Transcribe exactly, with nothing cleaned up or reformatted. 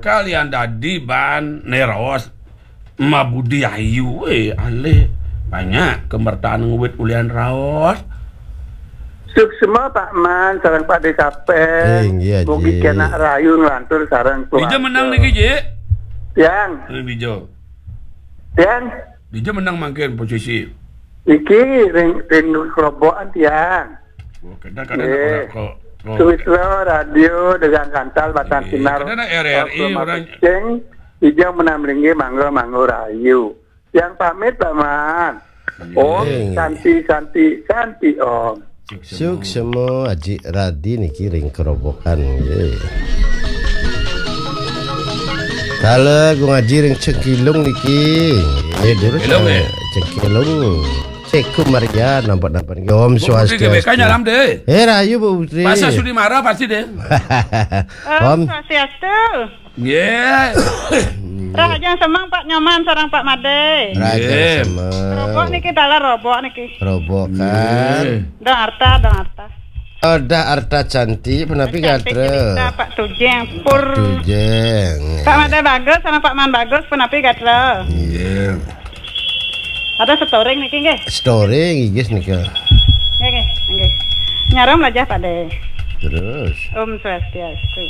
Kalian dadi ban neros mabudi ayu, eh, alih banyak kemertaan ngewit ulian raos. Suksma Pak Man, sareng Pak De Kapeng. Eh, inggih, Haji. Mugi kena rahayu nglantur sareng keluarga. Dija menang niki, Ji? Tiang. Ring dija. Tiang. Dija menang mangkin posisi. Niki ring, ring kerobokan tiang. Oh, kadang-kadang Nggih. Ora kok. Oh. Suwitra Radio Degang Kantal Batang Nggih, Sinar. Kadang R R I Oklahoma orang Ceng, Ijang Menam Linggih, mangga, mangga rahayu. Yang pamit, Pak Man. Om Nggih. Santi, Santi, Santi Om. Suksma, Aji Radi niki ring kerobokan nggih. Kala Gung Aji ring Cengkilung niki. Nggih, durus, Cengkilung, eh, eh. Cengkilung. Seku Maria, nampak-nampak nggih. Om Bu Putri Swastiastu. G B K nyalam deh. Eh, rahayu, Bu Putri. Pasal sudi marah pasti deh. Om Om. Swastiastu. Nggih. Rahajeng semeng Pak Nyoman sareng Pak Made. Rahajeng Nggih. Semeng. Robok niki, dalar robok niki. Robok kan. Nggih. Dong arta, dong arta. Ada arta cantik, punapi Cantik gatra. Cerita Pak Tujeng, pur. Tujeng. Pak Made Bagus sama Pak Man Bagus, punapi gatra. Nggih. Ada storing niki nggih. Storing, inggih nika. Nggih, nggih, nggih. Nyaram lajah Pak De. Terus. Om Swastiastu.